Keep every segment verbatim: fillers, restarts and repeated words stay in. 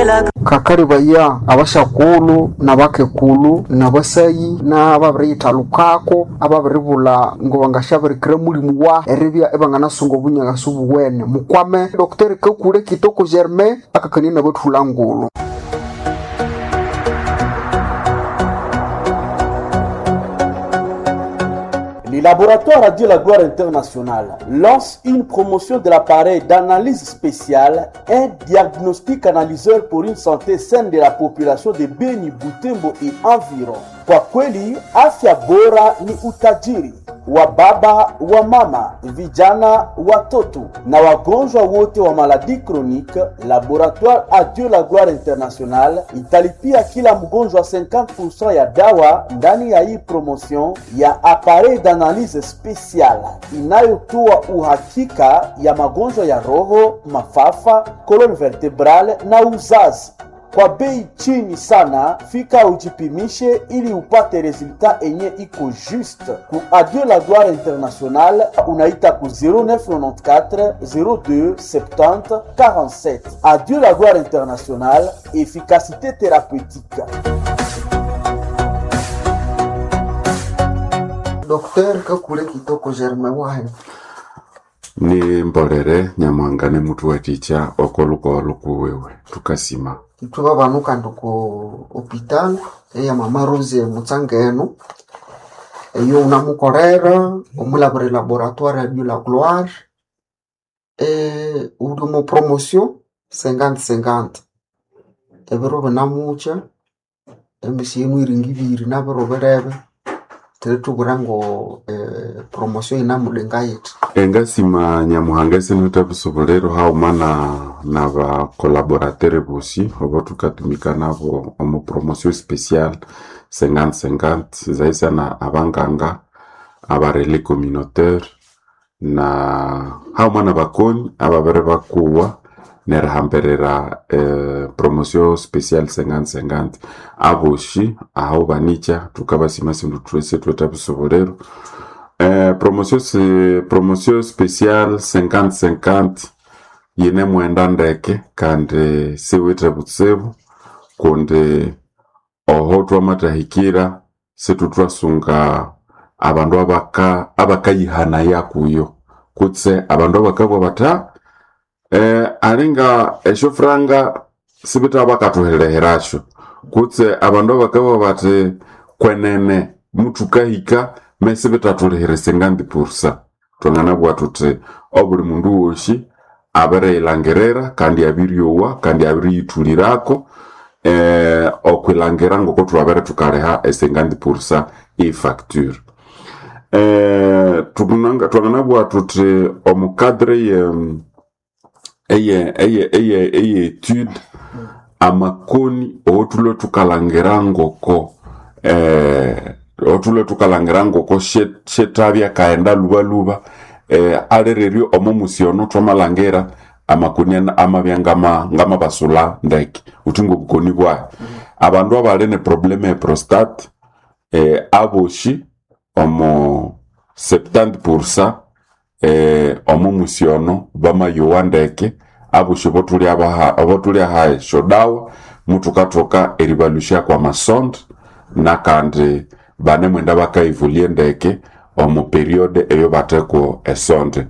Kakalibaya abasyakulu nabakekulu nabasayi nababiriyithalukako ababiribulha ngobangasyabirikira mulimu wa eribya ibanganasunga obunyaghasu buwene. Mukwame Doctor Kakule Kitoko Germain akakania nabathulha ngulhu. Les laboratoires Radio La Gloire Internationale lance une promotion de l'appareil d'analyse spéciale, un diagnostic analyseur pour une santé saine de la population de Beni, Butembo et environ. Kwa kweli, afya bora ni utajiri wa baba, wa mama, vijana, watoto na wagonjwa wote wa maladie chronique. Laboratoire Adieu la Gloire Internationale italipia kila mgonjwa cinquante pour cent ya dawa ndani ya hii promotion ya appareil d'analyse spéciale inayotoa uhakika ya magonjwa ya roho, mafafa, colonne vertébrale na uzazi kwa bei chini sana. Fika ujipimishe ili upate résultat enye iko juste. Ku Adieu la Gloire Internationale unaita ku zéro neuf quatre-vingt-quatorze zéro deux soixante-dix quarante-sept. Adieu la Gloire Internationale, efficacité thérapeutique. Doctor Kakule Kitoko Germain wahe. Ni mbolere Nyamuhanga ne mutu watikya okolukowa lukuwewe tukasima. Ithwe babanu kandi oko hospital eya Mama Rose Mutsangeno, eyo wunamukolera omulabira laboratoire ya Dieu la Gloire, eh, uli omo promotion cinquante cinquante ebiro binamukya emisi yinu iringa ibiri nabiro birebe thulithubwira ngo eh, promotion yinamulinga yithi. Engasima Nyamuhanga esinitha busubuliro haghuma na nabakolaboratere bosi obo thukatumika nabo omu promotion special cinquante cinquante zaisana abanganga, abarelais communautaire na haghuma nabakoni ababiri bakuwa nerihambirira eh, promotion special cinquante cinquante. Abosi aho banikya thukabasima sindu sithwithe busubuliro. eh, promotion si, promotion special cinquante cinquante yine mwenda ndeke kandi siwithe butsibu kundi oho twamathahikira situthwasunga abandu abaka abakayihanaya kuyo kutse abandu abakabugha bathi "Ah, eh, alinga esyofuranga sibitha bakathuhilihirasyo," kutse abandu abakabugha bathi kwenene muthukahika mesibithathulihira cinquante pour cent. Thwanganabugha thuthi obuli mundu wosi abiriyilhangirira kandi abiryowa kandi abiriyithulirako eh, okwilhangira ngoko thwabere thukaliha e cinquante pour cent e facture. eh, tukunanga- thwanganabugha thuthi omu cadre ye eye eye eye eye étude amakoni othulwe thukalhangira ngoko eh, othulwe thukalhangira ngoko she- shethabya kaghenda lubaluba eh, alireryo omo musi ono thwamalhangira amakoni ana- amabya ngama ngamabasulha ndeke uthi ngobukoni bwahi. Abandu abali ne problème e prostate eh, abosi omo soixante pour cent eh, omo musi ono bamayowa ndeke. Abosi bothuli abaha abothuli aha esyodawa muthukathoka eribalusya kwa masonde nakandi banemwenda bakaivulie ndeke omu période eyo batheko esonde.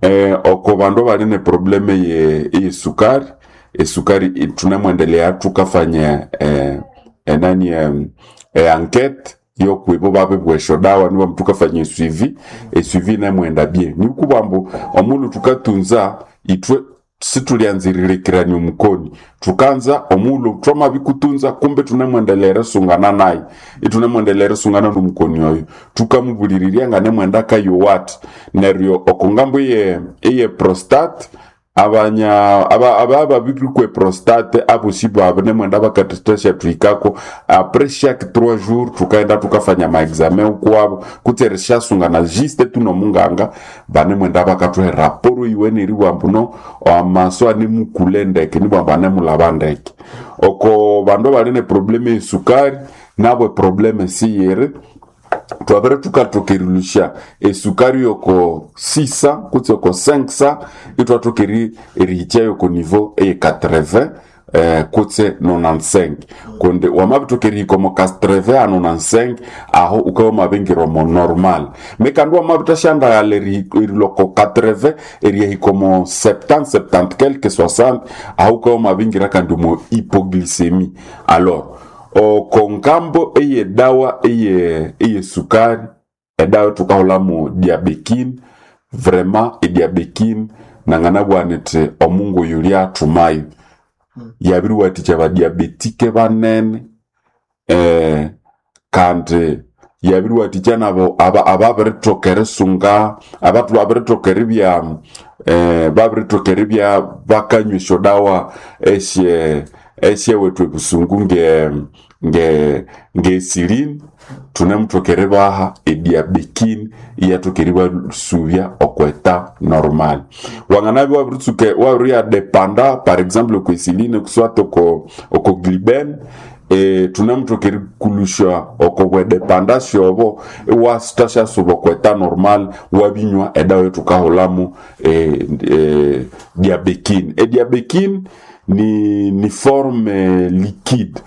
eh, oko bandu abali ne problème ye eyesukari, esukari i- thunemwendelea thukafanya eh, enani em, e enquête yokwibo babibwa esyodawa nibo thukafanya esuivi esuivi nemwenda bien. Nikubwa ambu omulhu thukatunza ithwe situlyanziririkirania omukoni, thukanza omulhu thwamabikutunza kumbe thunemwendelea erisungana naye, ithunemwendelea erisungana nomukoni oyo, thukamubulirirya nganemwenda akayowa athi. Neryo oko ngambu eye eye prostate abanya aba aba babirikwe prostate abosi babu nemwenda bakatesya thuhikako après chaque trois jours, thukaenda thukafanya maexamen kwabo kutse erishasungana juste tunomunganga banemwenda bakathuha raporo iwene eribugha ambu no amaso anemukule ndeke nibwa ambu anemulaba ndeke. Oko bandu abali ne problème esukari nabo eproblème siyiri, twabere tukathoka erilusya esukari yoko six hundred kutse oko five hundred, itwathoka eri- erihikya yoko niveau eye quatre-vingts. eh, kutse nonante-cinq, kundi wamabithoka erihika omo quatre-vingts a nonante-cinq, aho ukabya wamabingira omo normal. Mekandi wamabithasyandaghala erilwa oko quatre-vingts eriyahika omo septante, septante quelque, soixante, aho ukabya wamabingira kandi omo hypoglycémie. Alors oko ngambo eyedawa eye eyesukari, edawa thukahulhamu Diabekine, vraiment eDiabekine nanganabugha nithi omungu oyu lyathumayo, yabiriwathikya abadiabetike banene, eh, kandi yabiriwathikya nabo aba- ababirithoka erisunga abatu babirithoka eribya eh, babirithoka eribya bakanywa esyodawa esye esyewethu ebusungu nge nge ngesilini, thunemuthoka eribaha eDiabekine iyathoka eribasubya okweta normal. Wanganabya wabiritsuka wabiriyadependa par exemple okwa insuline kuswata oko oko Gliben, eh, thunemuthoka erikulusha oko bwedependance obo, iwasithasyasuba okweta normal wabinywa edawa ethukahulhamu eh, eh, Diabekine. EDiabekine ni, ni forme liquide.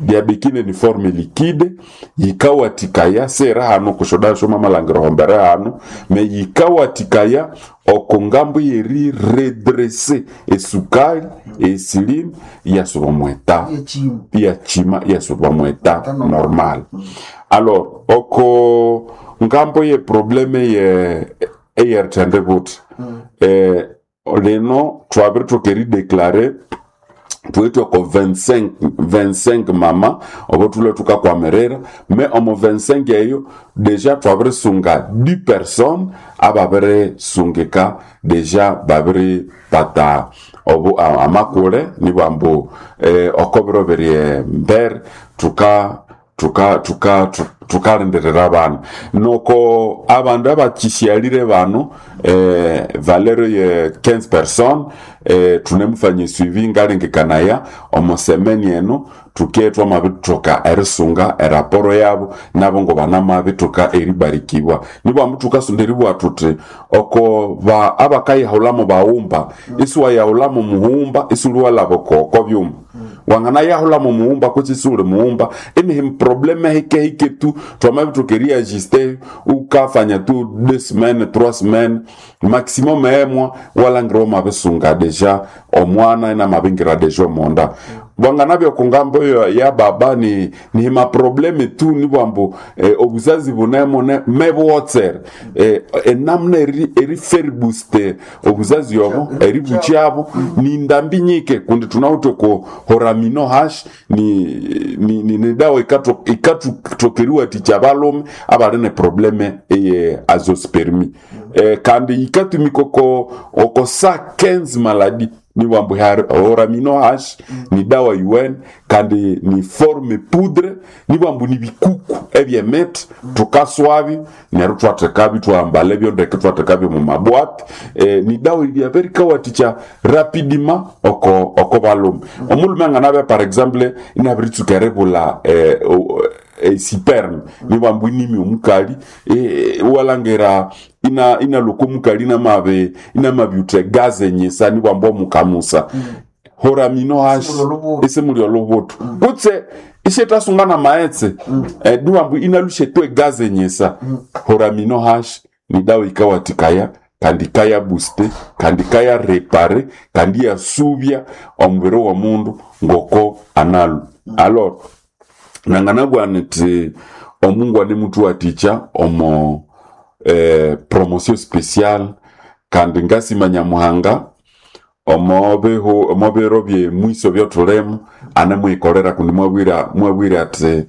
Diabekine ni forme liquide, yikawathikaya sera hano kushoda shoma malangiro hombere hano me yikawathikaya oko ngambo yeri redresser esukali insuline yasuba mweta Yechima. iyachima iyasuba mweta Eta normal. normal. Alors oko ngambo ye problème ye eyerithende buthi, eh, lino twabiritoka erideclare thuwithe oko vingt-cinq vingt-cinq mama obo thulwe thukakwamirira me omo vingt-cinq eyo deja twabirisunga dix personnes ababirisungika deja babiripata obu a- amakule nibwambu eh, oko biro biri embere thuka tuka tuka tu- tukalindirira abana noko abandu abakishyalire bano eh, valeur ye quinze personnes, eh, thunemufanya suivi ngalengekanaya omo semeni eno thuke twamabithoka erisunga eraporo yabo nabo ngo banamabithoka eribarikibwa. Nibwambu thukasonda eribugha thuthi oko ba abakayahulhamu baghumba isiwayahulhamu mughumba isiwuliwalhaba oko oko byuma wanganayahulhamu mughumba kutse isiwuli mughumba inihi problème hike hike tu twamabithoka eriajuste ukafanya tu deux semaines, trois semaines maximum emwa walangira wamabisunga deja omwana inamabingira deja omonda. Bwanganabya okungambo yo ya baba ni ni maproblème tu nibwambu eh, obuzazi bunemo ne mebwotsere eh, enamuna eri eriferbuste obuzazi obo eribukyabo ni ndambi nyike kundi tunawithe ku horamino hash ni ni, ni, ni dawa ikatokeriwathikya abalhume abali ne problème eye azoospermie, eh, kandi yikatumika oko oko sa quinze maladi. Nibwambu horamino hash ni dawa un kandi ni forme poudre, nibwambu ni bikuku ebyemiti thukaswabyo neryo thwathekabyo thwahambala ebyo ndeke thwathekabyo mu mabwati, eh, ni dawa iryabirikawathikya rapidement oko oko balhume. Omulhume anganabya par exemple inabiritsuka eribulha eh, o- eh, sperme, nibwambu inimi omukali eh, walangira ina inaloko omukali inamabi inamabyutha egazi enyisa nibwambu omukamusa horamino hashi Isimuli olubuto. isimuli olubuto kutse ishethasunga na maghetse eh, niwambu inalushetwa egazi enyisa. Horamino hashi ni dawa ikawathikaya kandi ikayabuste kandi ikayarepare kandi iyasubya omubiri w'omundu ngoko analu. Alors nanganabugha nithi omungu animuthuwathikya omo eh, promotion spéciale kandi ngasima Nyamuhanga omo bihu omo biro byemwiso byothulimo anemwikolera kundi mwabwira mwabwira ati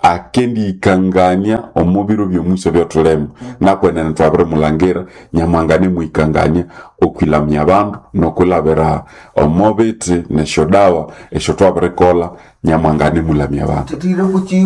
akendiyikangania omo biro byomwiso byothulimo nakwenene twabirimulangira Nyamuhanga anemwikangania okwilamya abandu nokwilabira omo bithi nesyodawa esyo twabirikolha Nyamuhanga anemulamya abandu. Thithire kuchiwa.